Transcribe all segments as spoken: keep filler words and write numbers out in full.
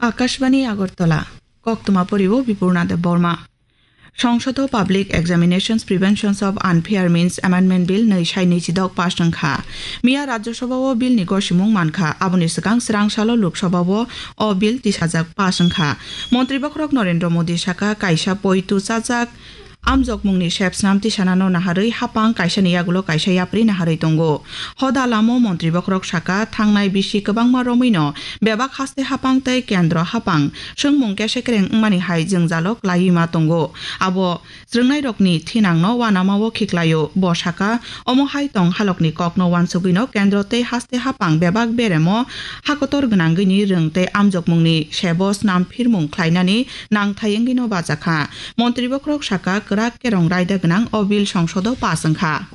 Akashbani Agartala, Koktwma poriwo Bipurna Debbarma. Songsodo Public Examinations Preventions of Unfair Means Amendment Bill nwi sai nwi chidok pass wngkha. Miya Rajya Sabha o bill ni gosimung mankha, aboni swkang swrang salo Lok Sabha o o bill tisajak pass wngkha. Montri bokhorok Narendra Modi saka kaisa poitu chajak amjokmungni sepsnam tisanano naharwi hapang kaisani yagulo kaisa yapri naharwi tongo. Hoda lamo montri bokhorok saka thangnai bisi kwbangma romwino bebak haste hapang tei kendro hapang swngmung kesekreng wngmani hai jwngjalo klaiwi ma tongo. Abo swrwngnairokni thinangno uanamao khiklaio. Bo saka, omo hai tong halokni kokno uansugwino kendro tei haste hapang bebak beremo hakotor gwnangwini rwng tei amjokmungni sebo snam phirmung khlainani nangthai wngwino bajakha. Montri bokhorok saka kwrak kerong raida gwnang o bill songsodo pass wngkha.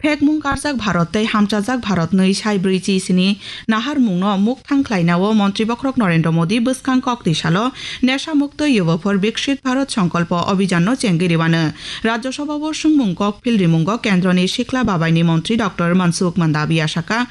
Phekmung karjak Bharat tei hamchajak Bharat nwi sai brwi chi sini naharmungno mukthang khlainao montri bokhorok Narendra Modi bwskang kok twi salo Nesha Mukto Yuva for Viksit Bharat Sankalpa Abhijanno chengwi rwano. Rajya Sabha o swngmung kok phil rimungo kendroni sikla babaini montri Doctor Mansukh Mandaviya saka,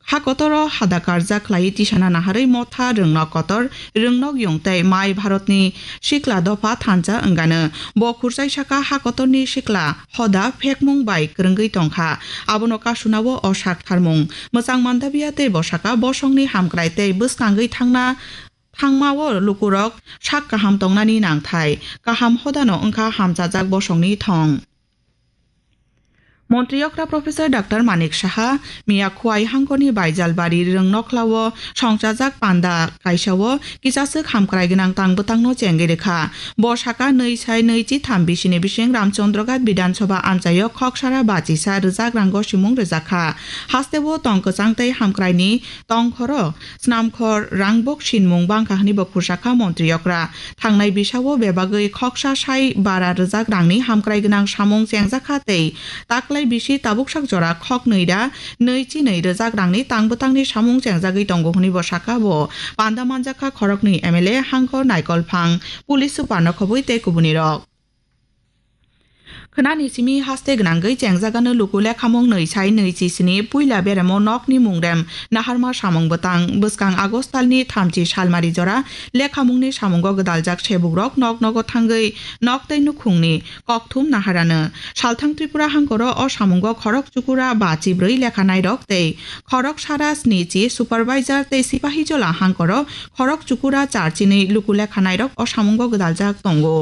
ha kotoro hada karjak khlaiwi tisana naharwi motha rwngnok kotor, rwngnok yung tei mai Bharatni sikla dopha thansa wngano. Bo khurchai saka ha kotorni sikla hoda phekmung bai kwrwngwi tongkha. Abono kasunao o sak tharmung. Mwchang Mandaviya tei bo saka bosongni hamkrai tei bwskangwi thangna thangmao lukurok sak kaham tongnani nangthai. Kaham hodano wngkha hamchajak bosongni thong. Montri okra Professor Doctor Manik Saha miya Khwai hangkorni Baijalbari Rwngnoklao songchajak panda kaisao kisaswk hamkrai gwnang tang bwtangno chengwi rwkha. Bo saka nwi sai nwi chi tham bisini bising Ramchandraghat Bidhan Sabha amchaio khoksara bachisa rwjak rango simung rwjakha. Hasteo tong kwchang tei hamkraini tongkhoro snamkhor rangbok sinmung bangkha hwnwi bo khursa kha montri okra. Thangnai bisao bebagwi khoksa sai bara rwjak rangni hamkrai gwnang samung chengjakha tei taklai bisi tabuksak jora khoknwi ra nwi chi nwi rwjak rangni tang bwtangni samung chengjagwi tongo hwnwi bo sakha. Bo panda manjakha khoroknwi M L A, hangkor, naikolphang, police super no khobwi tei kubunirok. Khwnani simi haste gwnangwi chengjagano luku lekhamung nwi sai nwi chi sini puila beremo nokni mungrem naharma samung bwtang bwskang August talni thamchi salmari jora lekhamungni samungo gwdaljak sebukrok nok nogo thangwi nok tei nukhungni kokthum naharano. Salthang Tripura hangkoro o samungo khorok chukura ba chibrwi lekhanairok tei khorok sara sni chi supervisor tei sipahijola hangkoro khorok chukura char chinwi luku lekhanairok o samungo gwdaljak tongo.